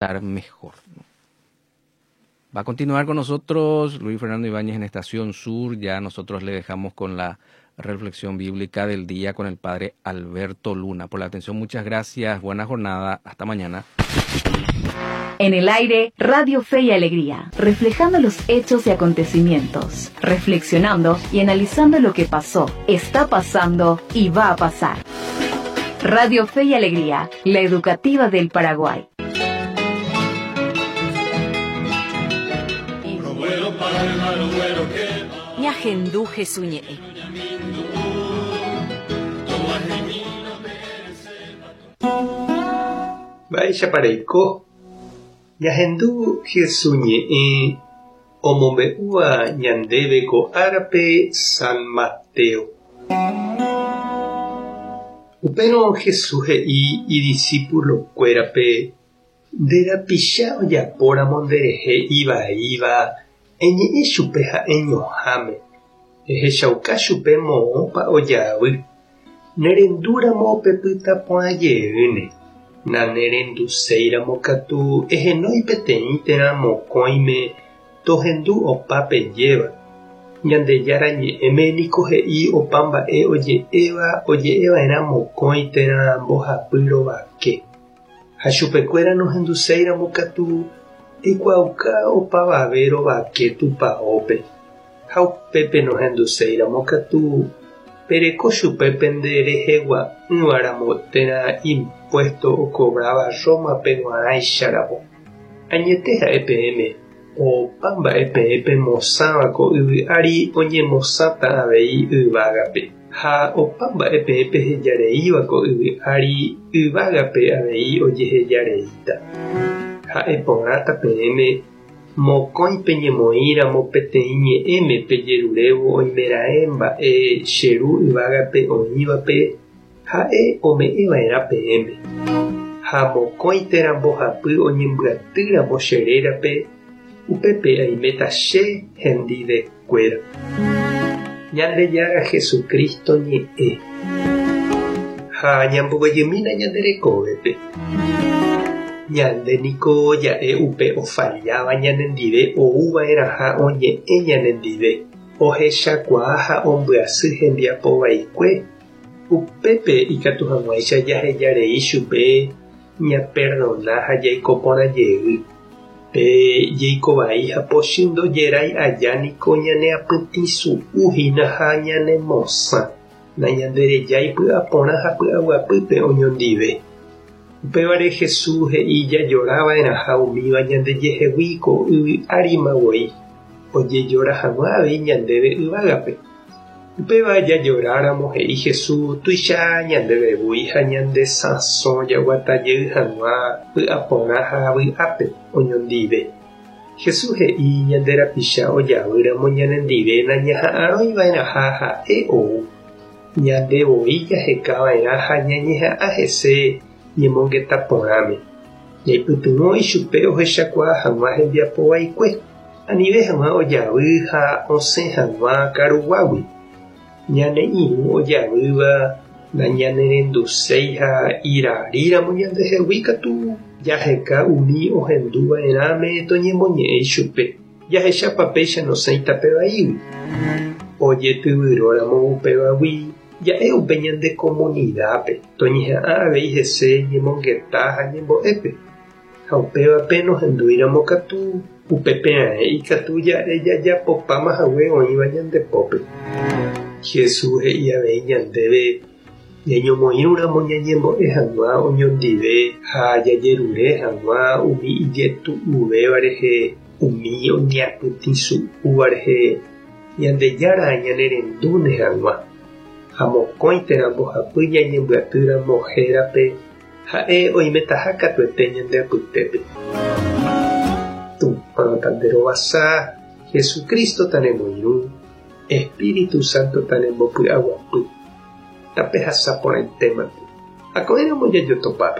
Estar mejor. Va a continuar con nosotros Luis Fernando Ibáñez en Estación Sur. Ya nosotros le dejamos con la reflexión bíblica del día con el padre Alberto Luna. Por la atención, muchas gracias. Buena jornada. Hasta mañana. En el aire, Radio Fe y Alegría, reflejando los hechos y acontecimientos, reflexionando y analizando lo que pasó, está pasando y va a pasar. Radio Fe y Alegría, la educativa del Paraguay. Ñahendu Hesu ñe'ẽ. Mba'éichapa reiko? Ñahendu Hesu ñe'ẽ omombe'úva ñandéve ko árape San Mateo. Upérõ Jesús he'i idisípulokuérape Nde rapicha ojapóramo nderehe ivaíva, eñe'ẽ chupe ha'eñoháme, ehechauka chupe moõpa ojavy. Nerendúramo pepyta porã jeýne, nanerenduséiramo katu ehenói peteĩ térã mokõime tohendu opa pejéva. Ñandejára Ñe'ẽme niko he'i opa mba'e oje'éva oje'eva'erã mokõi térã mbohapy rovake. Ha chupekuéra nohenduséiramo katu, eikuaauka opavave rovake tupaópe. Ha upépe nohenduséiramo katu, pereko chupe pende rehegua'ỹvaramo térã impuésto okovráva Rómape g̃uarãicharamo. Añete ha'e peẽme, opa mba'e peẽ pemosãva ko yvy ári oñemosãta avei yvágape. Ha opa mba'e peẽ pehejareíva ko yvy ári yvágape avei ojehejareíta. Ha'e porãta peẽme, mokõi peñemoĩ ramo peteĩ ñe'ẽme pejerurévo oimeraẽ mba'e che Ru yvágape oĩvape, Ha'e ome'ẽ va'erã peẽme. Ha mokõi térã mbohapy oñembyaty ramo che rérape, upépe aiméta che hendive kuéra. Ñandejára Jesucristo ñe'ẽ. Ha ñamboguejymína ñande rekovépe. Ñande niko ja'e upe ofalláva ñanendive ou va'erãha oñe'ẽ ñanendive, ohechakuaa ha ombyasy hembiapo vaikue Upépe ikatu hag̃uáicha jaheja rei chupe ñaperdona ha jaiko porã jey. Pe jeiko vai ha pochy ndojerái aja niko ñaneapytĩsu'u hína ha ñanemosã, nañanderejái py'aporã ha py'aguapýpe oñondive. Upévare Jesús he'i jajora va'erãha umíva ñandejehegui ko yvy árima voi, ojejora hag̃ua avei ñandéve yvágape. Upéva jajoráramo he'i Jesús tuicha ñandéve voi ha ñande sãso jaguata jey hag̃ua py'aporã ha vy'ápe oñondive. Jesús he'i ñande rapicha ojavýramo ñanendive nañaha'arõi va'erãha ha'e ou. Ñande voi jaheka va'erã ha ñañeha'ã hese ñemongeta porãme. Ñaipytyvõ ichupe ohechakuaa hag̃ua hembiapo vaikue, anive hag̃ua ojavy ha osẽ hag̃ua karuguágui. Ñane irũ ojavýva nañanerenduséi ha iraríramo ñandehegui katu jaheka umi ohendu va'erãme toñemoñe'ẽ ichupe, jahechápa péicha nosẽi tape vaígui. Ojetyvyróramo upévagui Ja'e upe ñande komunidápe toñeha'ã avei hese ñemongeta ha ñembo'épe, ha upévape nohendúiramo katu upépe raẽ ikatu ja'e jajapopáma hague oĩva ñande pópe. Jesús he'i avei ñandéve ñañomoirũramo ñañembo'e hag̃ua oñondive ha jajerure hag̃ua umi ijetu'uvéva rehe, umi oñeapytĩsu'úva rehe, Ñandejára ñanerendúne hag̃ua, ha mokõi térã mbohapy ñañembyaty ramo hérape, ha'e oimetaha katuete ñande apytépe. Tupã tanderovasa, Jesucristo tanemoirũ, Espíritu Santo tanembopy'aguapy. Tapehasa porãitémante. Ako'ẽramo jajotopáta.